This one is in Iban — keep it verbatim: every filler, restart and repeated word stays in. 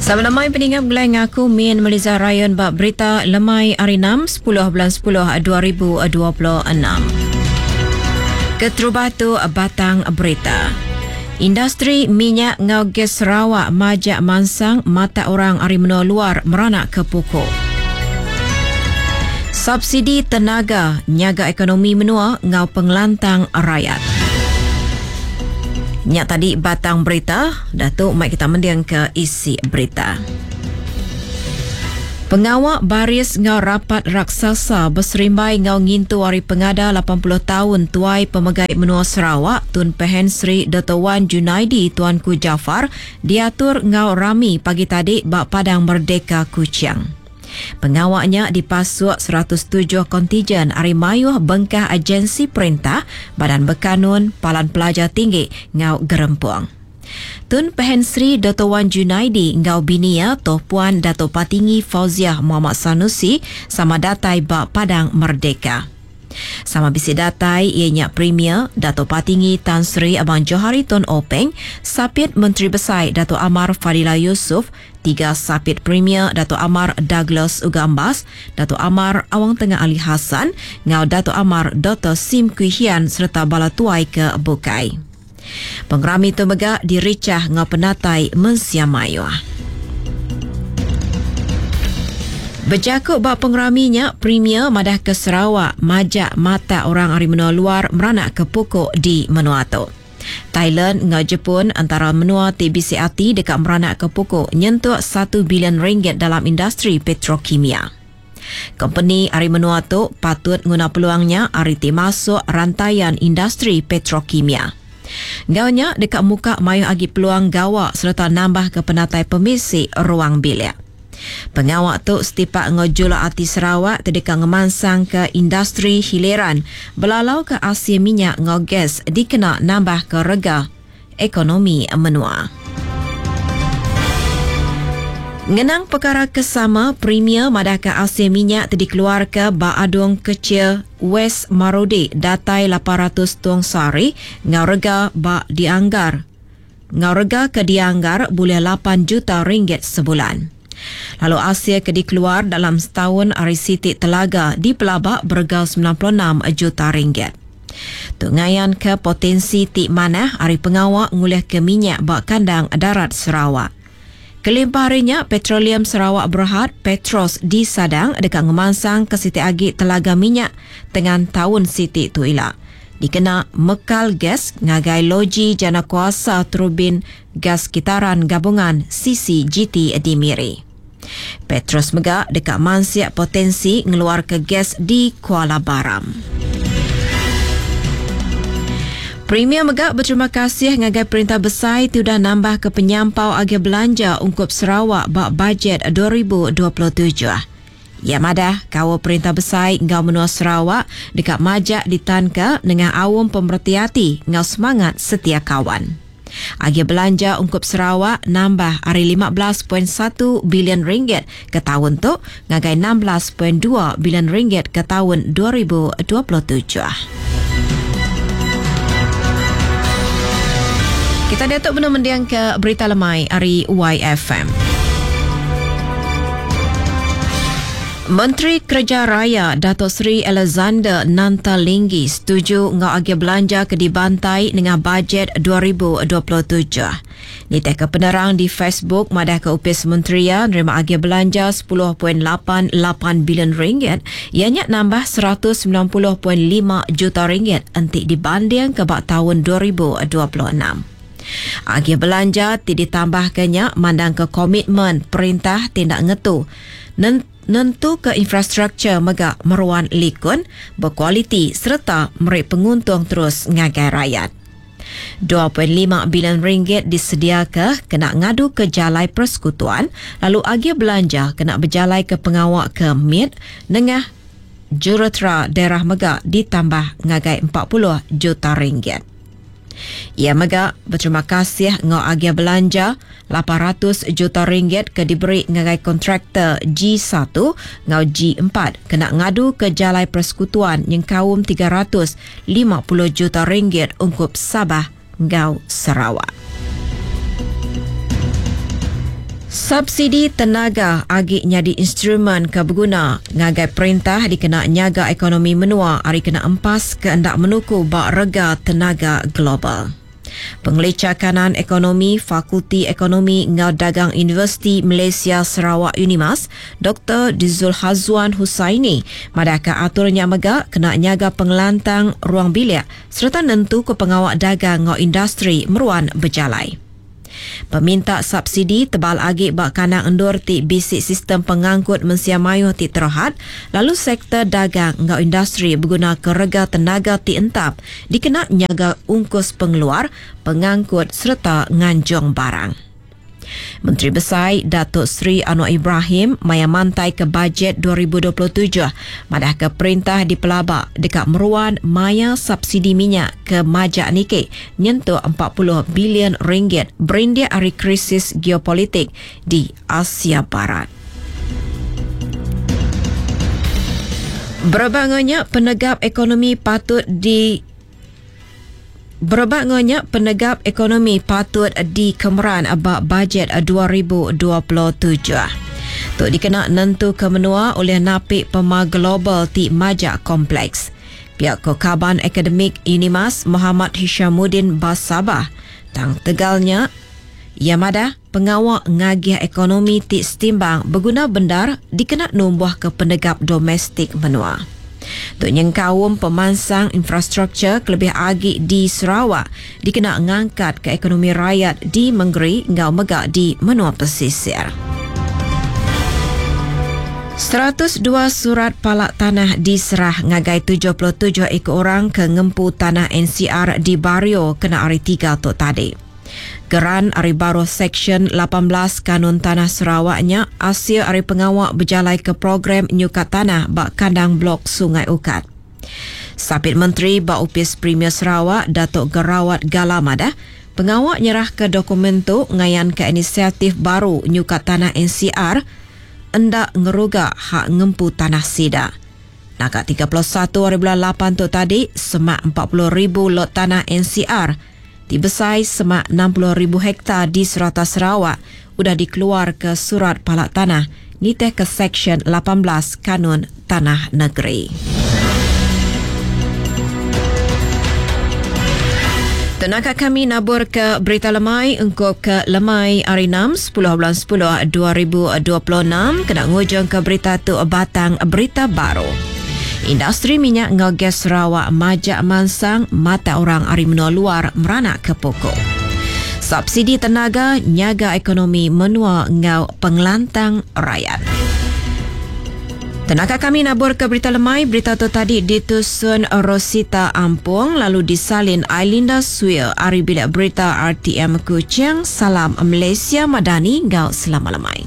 Sama lemai peningap gelai ngaku Min Meliza Rayon bak berita lemai hari enam sepuluh bulan sepuluh dua ribu dua puluh enam. Keterubah tu batang berita. Industri minyak ngau gas Sarawak majak mansang mata orang ari menua luar meranak ke pokok. Subsidi tenaga nyaga ekonomi menua ngau pengelantang rakyat. Nyak tadi batang berita, Datuk mai kita mending ke isi berita. Pengawak baris ngau rapat raksasa berserimbai ngau ngintu hari pengada lapan puluh tahun tuai pemegai menua Sarawak Tun Pehin Sri Doktor Wan Junaidi Tuanku Jaafar diatur ngau rami pagi tadi bak Padang Merdeka Kuching. Pengawaknya dipasuk seratus tujuh kontijen ari mayuh bengkah agensi perintah, Badan Berkanun, Palan Pelajar Tinggi ngau Gerempung. Tun Pehin Sri Doktor Wan Junaidi ngau binia Toh Puan Dato' Patinggi Fauziah Muhammad Sanusi sama datai ba Padang Merdeka. Sama bisi datai ianya Premier Dato' Patinggi Tan Sri Abang Johari Tun Openg, Sapit Menteri Besai Dato' Amar Fadillah Yusof, tiga Sapit Premier Dato' Amar Douglas Uggah Embas, Dato' Amar Awang Tengah Ali Hassan, ngau Dato' Amar Doktor Sim Kui Hian serta bala tuai ke bukai. Pengerami tu mega diricah ngau penatai mensia mayuh. Berjakuk bak pengeraminya, Premier madah ke Sarawak majak mata orang ari menua luar meranak ke pokok di menua tu. Thailand ngau Jepun antara menua T B C A T dekat meranak ke pokok nyentuk satu bilion ringgit dalam industri petrokimia. Company ari menua tu patut nguna peluangnya ari ti masuk rantaian industri petrokimia. Gaunya dekat muka mayu agi peluang gawak serta nambah ke penatai pemisi ruang bilik. Pengawak tu setipak ngau jula ati Sarawak terdeka ngemansang ke industri hiliran belalau ke asia minyak ngau gas dikena nambah ke rega ekonomi menua. Ngenang perkara kesama, Premier madah ke asia minyak tadi keluar ke Baadung Kecil West Marudi datai lapan ratus tuang sari ngau rega ba dianggar. Ngau rega ke dianggar boleh lapan juta ringgit sebulan. Lalu asia ke dikeluar dalam setahun ari Siti Telaga di Pelabak berega sembilan puluh enam juta ringgit. Tungayan ke potensi ti manah ari pengawak ngulih ke minyak bak kandang darat Sarawak. Kelimpah harinya, Petroleum Sarawak Berhad Petros di Sadang dekat ngemansang ke Siti Agi Telaga Minyak dengan tahun Siti Tuila. Dikena mekal gas ngagai loji jana kuasa turbin gas kitaran gabungan C C G T di Miri. Petros mega dekat mansiak potensi ngeluar ke gas di Kuala Baram. Premier mega berterima kasih ngagai perintah besar tu dah nambah ke penyampau agi belanja ungkup Sarawak bak bajet dua ribu dua puluh tujuh. Ya madah, kawa perintah besar ngau menua Sarawak dekat majak ditanka dengan awam pemerhati ngau semangat setia kawan. Agi belanja ungkup Sarawak nambah ari lima belas point satu bilion ringgit ke tahun tu ngagai enam belas point dua bilion ringgit ke tahun dua ribu dua puluh tujuh. Kita datuk benar mendiang ke berita lemai ari Y F M. Menteri Kerja Raya Datuk Seri Alexander Nanta Linggi setuju ngau agi belanja ke dibantai dengan bajet dua ribu dua puluh tujuh. Niteh ke penerang di Facebook madah ke upis menteri ya nerima agi belanja sepuluh point lapan lapan bilion ringgit ianya nambah seratus sembilan puluh point lima juta ringgit entik dibanding ke bak tahun dua ribu dua puluh enam. Agi belanja ti ditambahkannya mandang ke komitmen perintah tindak ngetu. Nen-, nentu ke infrastruktur mega meruan likun, berkualiti serta merik penguntung terus ngagai rakyat. dua point lima bilion ringgit disediakan kena ngadu ke jalai persekutuan, lalu agi belanja kena berjalai ke pengawak ke M I D nengah jurutera daerah mega ditambah ngagai empat puluh juta ringgit. Ia mega berterima kasih ngau agia belanja lapan ratus juta ringgit ke diberi ngagai kontraktor G satu ngau G empat kena ngadu ke jalai persekutuan yang kaum tiga ratus lima puluh juta ringgit ungkup Sabah ngau Sarawak. Subsidi tenaga agi nyadi instrumen ke beguna ngagai perintah dikena nyaga ekonomi menua ari kena empas ke enda menuku ba rega tenaga global. Pengelicha Kanan Ekonomi Fakulti Ekonomi enggau Dagang Universiti Malaysia Sarawak Unimas, Doktor Dzulhazwan Husaini madahka atur nya mega kena nyaga pengelantang ruang bilik sereta nentuka pengawa dagang enggau industri meruan bejalai. Peminta subsidi tebal agi ba kandang endur ti bisi sistem pengangkut mensia mayuh ti terhad lalu sektor dagang enggau industri begunaka rega tenaga ti entap dikena nyaga ungkus pengeluar, pengangkut sereta nganjung barang. Menteri Besai Datuk Seri Anwar Ibrahim maya mantai ke bajet dua ribu dua puluh tujuh madahka perintah dipelaba deka meruan maya subsidi minyak ke majak niki nyentuk empat puluh bilion ringgit berindik ari krisis geopolitik di Asia Barat. Berebak penegap ekonomi patut di Berebak ngonya penegap ekonomi patut dikemeran ba bajet dua ribu dua puluh tujuh. Tu dikena nentu ke menua oleh napi pema global ti majak kompleks. Pihak Kekaban Akademik Unimas Muhammad Hishamuddin Basabah tang tegalnya ia madah pengawak ngagih ekonomi ti setimbang berguna bendar dikena numbuh ke penegap domestik menua. Tu nyengkaum pemansang infrastruktur kelebih agi di Sarawak dikena ngangkat ke ekonomi rakyat di Menggeri ngau mega di menua pesisir. seratus dua surat palak tanah diserah ngagai tujuh puluh tujuh ekor orang ke ngempu tanah N C R di Bario kena hari tiga tu tadi. Geran ari baruh Seksyen lapan belas Kanun Tanah Sarawaknya asil ari pengawak berjalai ke program nyukat tanah bak kandang blok Sungai Ukat. Sapit Menteri ba Upis Premier Sarawak Datuk Gerawat Gala madah pengawak nyerah ke dokumen tu ngayan ke inisiatif baru nyukat tanah N C R endak ngeruga hak ngempu tanah sida. Naka tiga puluh satu hari bulan lapan tu tadi semak empat puluh ribu lot tanah N C R dibesai semak enam puluh ribu hektar di serata Sarawak udah dikeluar ke surat palak tanah nitih ke Seksyen lapan belas Kanun Tanah Negeri. Tenaga kami nabur ke berita lemai engkau ke lemai hari enam sepuluh bulan sepuluh dua ribu dua puluh enam kena ngujung ke berita tu batang berita baru. Industri minyak ngau gas Sarawak majak mansang mata orang ari menua luar meranak ke pokok. Subsidi tenaga nyaga ekonomi menua ngau pengelantang rakyat. Tenaga kami nabur ke berita lemai, berita tu tadi ditusun Rosita Ampung lalu disalin Ailinda Suir ari bilik berita R T M Kuching. Salam Malaysia Madani ngau selamat lemai.